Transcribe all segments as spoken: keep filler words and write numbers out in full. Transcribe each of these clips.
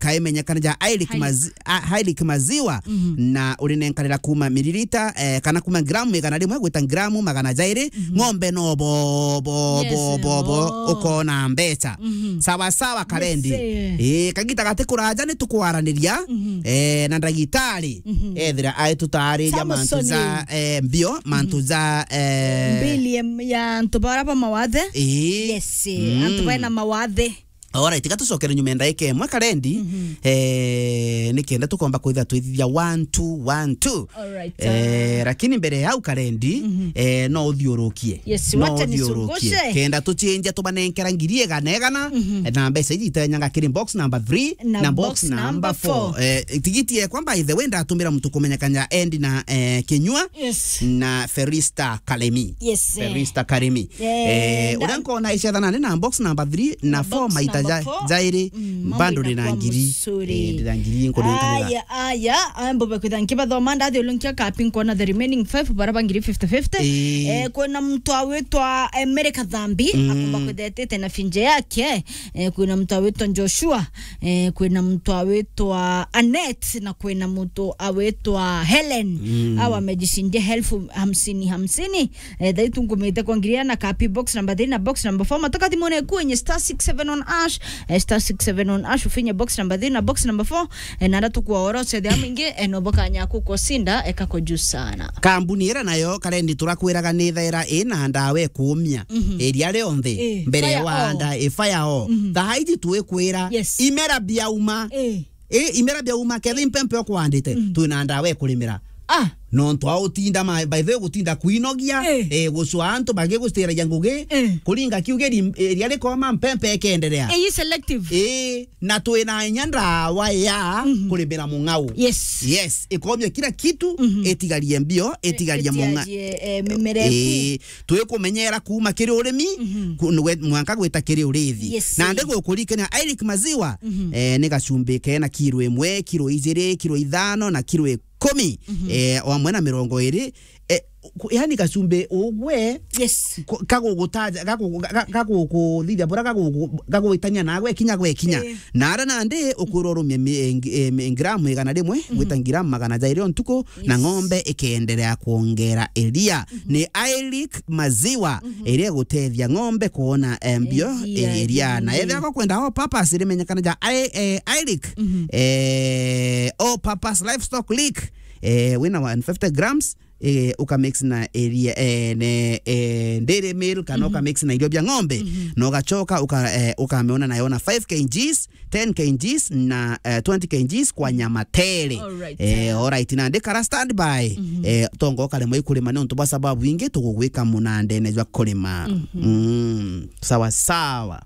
kaimenyekana ja Highlick Highlick. Mazi-, a, Highlick Maziwa, na urinenkanira kuma miririta, eh, kana kuma gramu igana rimwe gwita gramu magana jairi, ng'ombe no bo, bo, bo, Yes, bo, bo, no. Ukona mbeca. Sawa sawa, Karendi. Yes, eh. Eh, kagita gati kuraja ni tukwaraniria, eh, na ndagitari. Ethira aitutariria mantu Samson. Ja, eh, mbio, mantu ja, eh, mbili em-, ya antu bara ba mawathe. Eh. Yes, eh, antu baina mawathe. Alright, tiga tucokere nyuma ya ndaika imwe, Karendi. Eh, nikenda tukomba kwithira twithithia one two one two. Alright, eh, ah. Lakini mbere ya au, Karendi, eh, no uthiurukie. Yes, no wacha uthiurukie. Nisungushe. Kenda tuchinja tubanenkera ngiri igana igana, na mbeca iji itenyanga kiri box number three na box number four. Eh, tigiti yekwa, by the way, ndatumira muntu kumenyekana endi na, eh, Kinyua. Yes. Na Ferista Kalemi. Yes, eh. Ferista Kalemi. Eh, eh, na uria nkona icethanani na box number three na four, maita ja-, jairi, bando ni na ngiri. Eh, ndina ngiri nkuringanira. Aya, aya, ambo bakwitha nkibathoma, ndathiulunkia kapi nkona the remaining five bara ba ngiri fifty fifty. Eh. Eh, kwina muntu awitwa, eh, Mary Kathambi, akumba kwithetete na finje yake. Eh, kwina muntu awitwa Joshua. Eh, kwina muntu awitwa Annette na kwina muntu awitwa Helen. Awa mejishindia elfu hamsini hamsini. Eh, thai tu ngumite kwa ngiri na kapi box number three na box number four. Matoka thimone kwenye star six seven one hash, eh, star six seven one hash, ufinye box number three na box number four, eh, na ndatu kwa oro se thia mingi, eh, no boka nyaku ko sinda, eh, kako juu sana. Kambuni ira nayo, Karendi, turakwiraga ni thaira ina ndawa ikumia. Iria rionthe, eh, mbere ya wanda, i fire all. Thaa iji twikwira, yes, imera biauma. Eh. Eh, imera biauma, ketha impempe okwandite, twina ndawa ikurimira. Ah. Nontu wa utinda ma-, by the way, gutinda kwinogia, eh, gucwa antu bagigustiragia ngugi, eh, kuringa kiugiri, eh, ria rikoma mpempe ikenderea. Eh, i selective. Eh, na twina inya ndawa ya kurimira mung'au. Yes. Yes, ikomia kila kitu, itigarie mbio, itigarie mung'a-, itigarie, eh, mimera eku. Eh, twikumenyera kuma kiri urimi, ku-, nwe-, mwanka gwita kiri urithi. Yes. Na ndi gukurikania Highlick Maziwa, eh, ni gacumbi kena kiro imwe, kiro ijiri, kiro ithano na kiro ikumi, eh, o amwe na mirongo iri, eh, ku-, yani gacumbi ugwe, yes, ku-, kagugutaja, gagu-, ga-, ga-, gagukuthithia bura gagugu-, gagwitania na gwekinya gwekinya. Eh. Na ara nandi ukwirwa urumie mi-, eh, ngi-, eh, mi-, gramu igana rimwe, gwita gramu magana jairi o ntuku, na ng'ombe ikeendelea kuongera iria. Ni Highlick Maziwa iria igutethia ng'ombe kuona, eh, mbio, eh, iria. Na ethira kwenda all purpose, irimenyekana ja Hi-, eh, Highlick, eh, all purpose livestock lick, eh, wina one fifty grams, eh, uka mix na iria, eh, ne, eh, dairy meal, kana uka mix na irio bia ng'ombe, na ugachoka uka, eh, ukamiona nayo na five kilograms, ten kilograms na, eh, twenty kilograms kwa nyama tere. Alright. Eh, alright, na ndikara standby. Eh, tongo karemwe ikurima ni untu bwa sababu ingi tugugwika munandene jwa kurima. Mm, sawa sawa.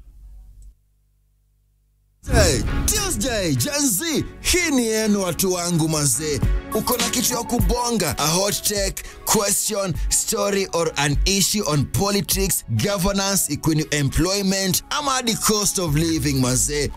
Hey, Tuesday, Gen Z, hii ni yenu watu wangu mazee. Uko na kitu ya kubonga, a hot take, question, story or an issue on politics, governance, ikwini employment, ama the cost of living mazee.